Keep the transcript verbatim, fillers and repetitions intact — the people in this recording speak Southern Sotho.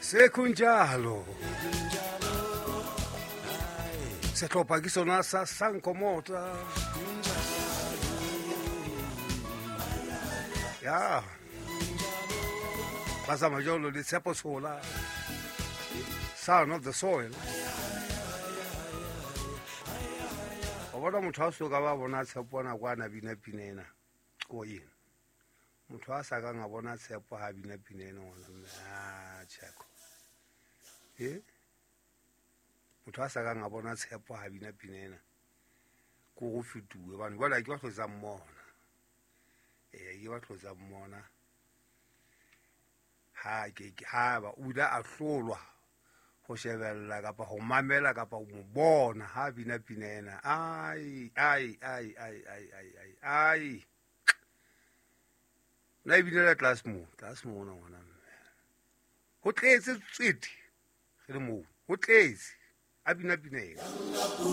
Sekunjalo. Sehlopha ke sona sa Sankomota. Ya. Ba tsamaya jalo le Tshepo Tshola. Son of the soil. O bona motho a soka ba bona Tshepo nako a na bina pina ena. Ko eng? Motho a sa kang a bona Tshepo ha bina pina ena ngwana mme. Ah, Tsheko. Eh? Motho a sa kang a bona Tshepo ha bina pina ena. Ko go fetuwe bane jwale ke ba tlotsa mmona. Eh, ke ba tlotsa mmona. Ha ke ke ha ba o ile a hlolwa ho shebella kapa ho mamela kapa ho mo bona ha bina pina ena. Ai ai ai ai ai ai ai ai. Na e binela tlase moo, tlase mona ngwana mme. Ho tletse tswete re le moo, ho tletse a bina pina ena.